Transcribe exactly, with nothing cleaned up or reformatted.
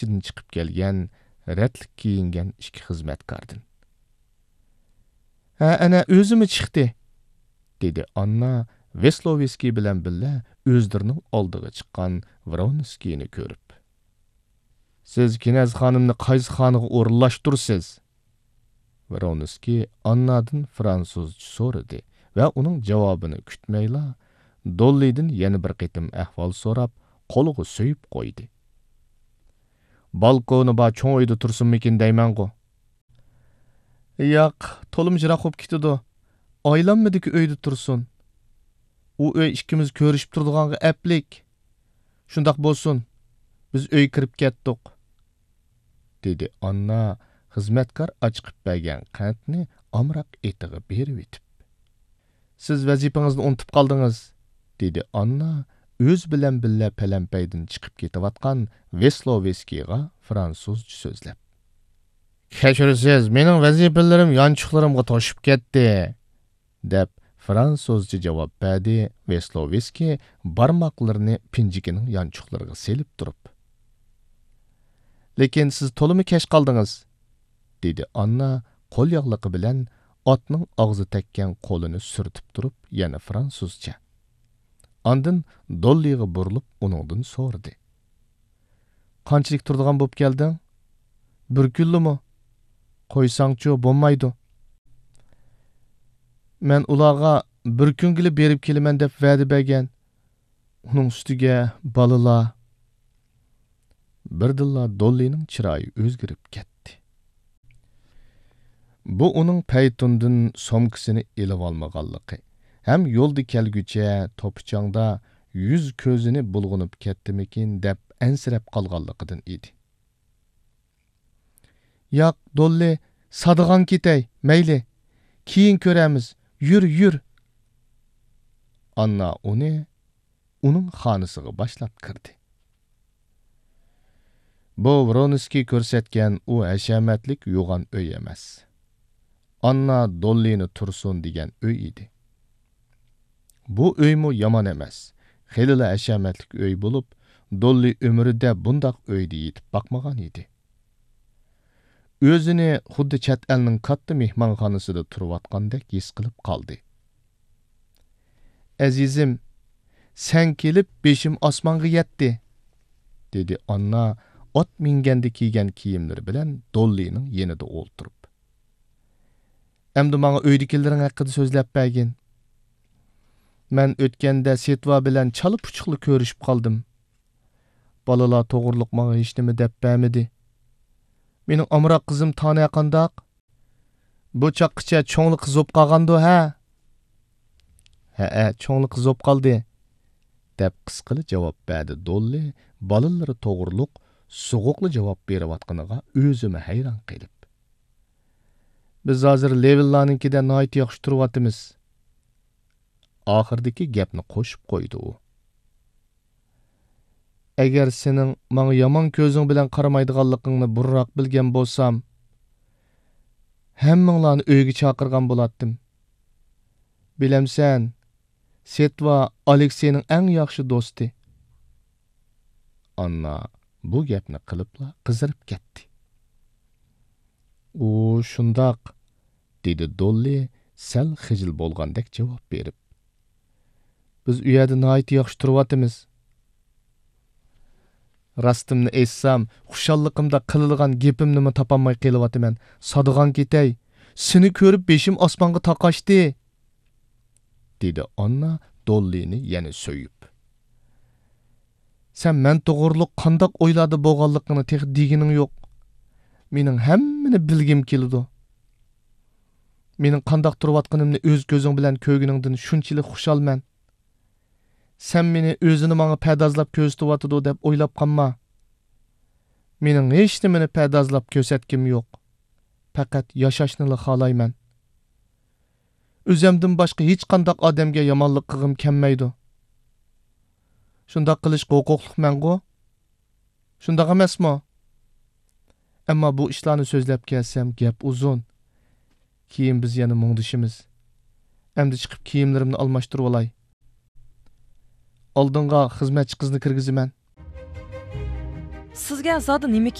ئىچىدىن چىقىپ كەلگەن، رەتلىك كىيىنگەن ئىككى خىزمەتكاردىن. «ھە، ئەنە، ئۆزىمۇ چىقتى»، دېدى ئاننا ۋېسلوۋېسكىي بىلەن بىللە ئۆزلىرىنىڭ ئالدىغا چىققان ۋرونسكىينى كۆرۈپ. «سىز كىنەز خانىمنى قايسى خانىغا ئورۇنلاشتۇرىسىز؟» ۋرونسكىي ئاننادىن فرانسۇزچە سورىدى ۋە ئۇنىڭ جاۋابىنى كۈتمەيلا، دوللىدىن يەنە بىر قېتىم ئەھۋال سوراپ، قولىغا سۆيۈپ قويدى. «بالكونى بار چوڭ ئۆيدە تۇرسۇنمىكىن دەيمەنغۇ.» «ياق، تولىمۇ يىراق بولۇپ كېتىدۇ. ئايلانمىدىكى ئۆيدە تۇرسۇن. ئۇ ئۆي ئىككىمىز كۆرۈشۈپ تۇرىدىغانغا ئەپلىك. شۇنداق بولسۇن، بىز ئۆيگە كىرىپ كەتتۇق»، دېدى ئاننا خىزمەتكار ئاچىقىپ بەرگەن قەنتنى ئامراق ئېتىغا بېرىۋېتىپ. «سىز ۋەزىپىڭىزنى ئۇنتۇپ قالدىڭىز»، دېدى ئاننا ئۆزى بىلەن بىللە پەلەمپەيدىن چىقىپ كېتىۋاتقان ۋېسلوۋېسكىيغا فرانسۇزچە سۆزلەپ. «كەچۈرىسىز، مېنىڭ ۋەزىپىلىرىم يانچۇقلىرىمغا توشۇپ كەتتى»، دەپ، فرانسۇزچە جاۋاب بەردى ۋېسلوۋېسكىي بارماقلىرىنى پىنجىكىنىڭ يانچۇقلىرىغا سېلىپ تۇرۇپ. «لېكىن سىز تولىمۇ كەچ قالدىڭىز»، دېدى ئاننا قول ياغلىقى بىلەن ئاتنىڭ ئاغزى تەگكەن قولىنى سۈرتۈپ تۇرۇپ يەنە فرانسۇزچە. ئاندىن دوللىغا بۇرۇلۇپ ئۇنىڭدىن سورىدى. «قانچىلىك تۇرىدىغان بولۇپ كەلدىڭ؟ بىر كۈنلىمۇ؟ قويساڭچۇ، بولمايدۇ.» «مەن ئۇلارغا بىر كۈنگىلا بېرىپ كېلىمەن دەپ ۋەدە بەرگەن. ئۇنىڭ ئۈستىگە بالىلار.» بىردىنلا دوللىنىڭ چىرايى ئۆزگىرىپ كەتتى. بۇ ئۇنىڭ پەيتۇندىن سومكىسىنى ئېلىۋالمىغانلىقى ھەم يولدا كەلگۈچە توپا-چاڭدا يۈز-كۆزىنى بۇلغىنىپ كەتتىمىكىن دەپ ئەنسىرەپ قالغانلىقىدىن ئىدى. «ياق، دوللى، سادىغان كېتەي، مەيلى. كېيىن كۆرەرمىز. يۈر، يۈر.» ئاننا ئۇنى ئۇنىڭ خانىسىغا باشلاپ كىردى. بۇ ۋرونسكىي كۆرسەتكەن ئۇ ھەشەمەتلىك يوغان ئۆي ئەمەس. ئاننا دوللىنى تۇرسۇن دېگەن ئۆي ئىدى. بۇ ئۆيمۇ يامان ئەمەس، خېلىلا ھەشەمەتلىك ئۆي بولۇپ، دوللى ئۆمرىدە بۇنداق ئۆيدە يېتىپ باقمىغان ئىدى. ئۆزىنى خۇددى چەت ئەلنىڭ كاتتا مېھمانخانىسىدا تۇرۇۋاتقاندەك ھېس قىلىپ قالدى. «ئەزىزىم، سەن كېلىپ بېشىم ئاسمانغا يەتتى»، دېدى ئاننا ئات مىنگەندە كىيگەن كىيىملىرى بىلەن دوللىنىڭ يېنىدا ئولتۇرۇپ. «ئەمدى ماڭا ئۆيدىكىلىرىڭ ھەققىدە سۆزلەپ بەرگىن. مەن ئۆتكەندە سېتۋا بىلەن چالا-پۇچۇقلا كۆرۈشۈپ قالدىم. بالىلار توغرۇلۇق ماڭا ھېچنېمە دەپ بەرمىدى. مېنىڭ ئامراق قىزىم تانە قانداق؟ بۇ چاغقىچە چوڭلا قىز بوپ قالغاندۇ، ھە؟» «ھەئە، چوڭلا قىز بوپ قالدى»، دەپ قىسقىلا جاۋاب بەردى دوللى بالىلىرى توغرۇلۇق سوغۇقلا جاۋاب بېرىۋاتقىنىغا ئۆزىمۇ ھەيران قېلىپ. «بىز ھازىر لېۋىللانىڭكىدە ناھايىتى ياخشى تۇرۇۋاتىمىز»، ئاخىرىدىكى گەپنى قوشۇپ قويدى ئۇ. «ئەگەر سېنىڭ ماڭا يامان كۆزۈڭ بىلەن قارىمايدىغانلىقىڭنى بۇرۇنراق بىلگەن بولسام، ھەممىڭلارنى ئۆيگە چاقىرغان بولاتتىم. بىلەمسەن، سېتۋا ئالېكسېينىڭ ئەڭ ياخشى دوستى.» ئاننا بۇ گەپنى قىلىپلا قىزىرىپ كەتتى. «ئۇ شۇنداق»، دېدى دوللى سەل خىجىل بولغاندەك جاۋاب بېرىپ. «بىز ئۇ يەردە ناھايىتى ياخشى تۇرۇۋاتىمىز. راستىمنى ئېيتسام، خۇشاللىقىمدا قىلىدىغان گېپىمنىمۇ تاپالماي قېلىۋاتىمەن. سادىغان كېتەي، سېنى كۆرۈپ بېشىم ئاسمانغا تاقاشتى»، دېدى ئاننا دوللىنى يەنە سۆيۈپ. «سەن مەن توغرۇلۇق قانداق ئويلاردا بولغانلىقىڭنى تېخى دېگىنىڭ يوق. مېنىڭ ھەممىنى بىلگۈم كېلىدۇ. مېنىڭ قانداق تۇرۇۋاتقىنىمنى ئۆز كۆزۈڭ بىلەن كۆرگىنىڭدىن شۇنچىلىك خۇشالمەن. سەن مېنى ئۆزىنى ماڭا پەردازلاپ كۆرسىتىۋاتىدۇ دەپ ئويلاپ قالما. مېنىڭ ھېچنېمىنى پەردازلاپ كۆرسەتكۈم يوق. پەقەت ياشاشنىلا خالايمەن. ئۆزۈمدىن باشقا ھېچقانداق ئادەمگە يامانلىق قىلغۇم كەلمەيدۇ. شۇنداق قىلىشقا ھوقۇقلۇقمەنغۇ؟ شۇنداق ئەمەسمۇ؟ ئەمما بۇ ئىشلارنى سۆزلەپ كەلسەم، گەپ ئۇزۇن. كېيىن بىز يەنە مۇڭدىشىمىز. ئەمدى چىقىپ كىيىملىرىمنى ئالماشتۇرۇۋالاي. ئالدىڭغا خىزمەتچى قىزنى كىرگۈزىمەن. سىزگە زادى نېمە